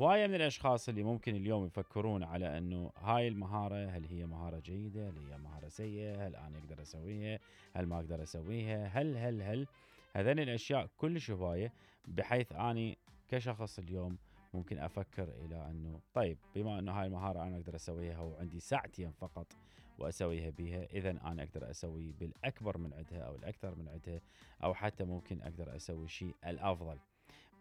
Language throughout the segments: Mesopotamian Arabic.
هواية من الأشخاص اللي ممكن اليوم يفكرون على أنه هاي المهارة هل هي مهارة جيدة، هل هي مهارة سيئة، هل أنا أقدر أسويها، هل ما أقدر أسويها، هل هذين الأشياء كلش هواية، بحيث أني كشخص اليوم ممكن أفكر إلى أنه طيب بما أنه هاي المهارة أنا أقدر أسويها وعندي ساعتين فقط وأسويها بها، إذن أنا أقدر أسوي بالأكبر من عدها أو الأكثر من عدها، أو حتى ممكن أقدر أسوي شيء الأفضل.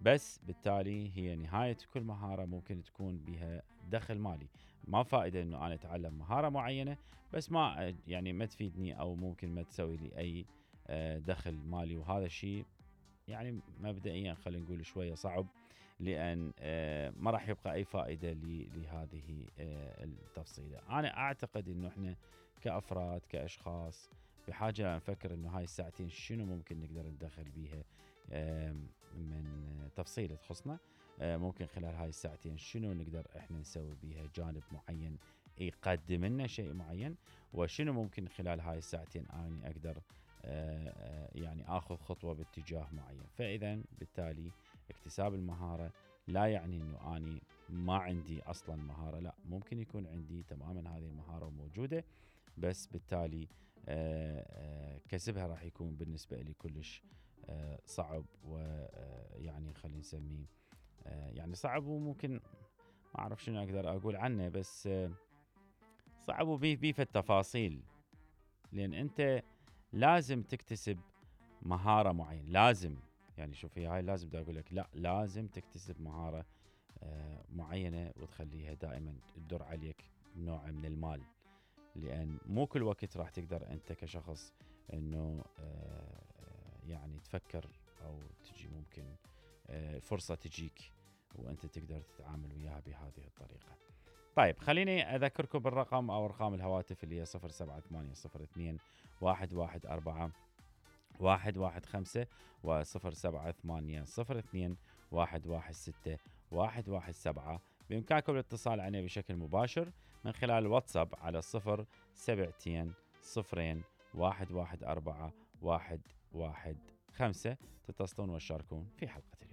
بس بالتالي هي نهاية كل مهارة ممكن تكون بها دخل مالي. ما فائدة أنه أنا أتعلم مهارة معينة بس ما تفيدني أو ممكن ما تسوي لي أي دخل مالي، وهذا الشيء يعني مبدئيا خلينا نقول شوية صعب، لأن ما راح يبقى أي فائدة لهذه التفصيلة. أنا أعتقد أنه إحنا كأفراد كأشخاص بحاجة نفكر أنه هاي الساعتين شنو ممكن نقدر ندخل بيها من تفصيلة تخصنا. ممكن خلال هاي الساعتين شنو نقدر إحنا نسوي بيها جانب معين يقدم لنا شيء معين، وشنو ممكن خلال هاي الساعتين أنا أقدر يعني آخذ خطوة باتجاه معين. فإذا بالتالي اكتساب المهارة لا يعني أنه أنا ما عندي أصلا مهارة، لا، ممكن يكون عندي تماما هذه المهارة موجودة، بس بالتالي كسبها راح يكون بالنسبة لي كلش صعب، ويعني خلينا نسميه يعني صعب، وممكن ما أعرف شنو أقدر أقول عنه، بس صعب وبيه في التفاصيل، لأن أنت لازم تكتسب مهارة معينة. لازم يعني شوفي هاي لازم بدي أقول لك، لا لازم تكتسب مهارة معينة وتخليها دائما تدر عليك نوع من المال، لأن مو كل وقت راح تقدر أنت كشخص أنه يعني تفكر أو تجي ممكن فرصة تجيك وأنت تقدر تتعامل وياها بهذه الطريقة. طيب خليني أذكركم بالرقم أو أرقام الهواتف اللي هي 07802 114 115 و07802 116 117. بإمكانكم الاتصال عليه بشكل مباشر من خلال الواتساب على 072 0 114 115. تتصلون وتشاركون في حلقة اليوم.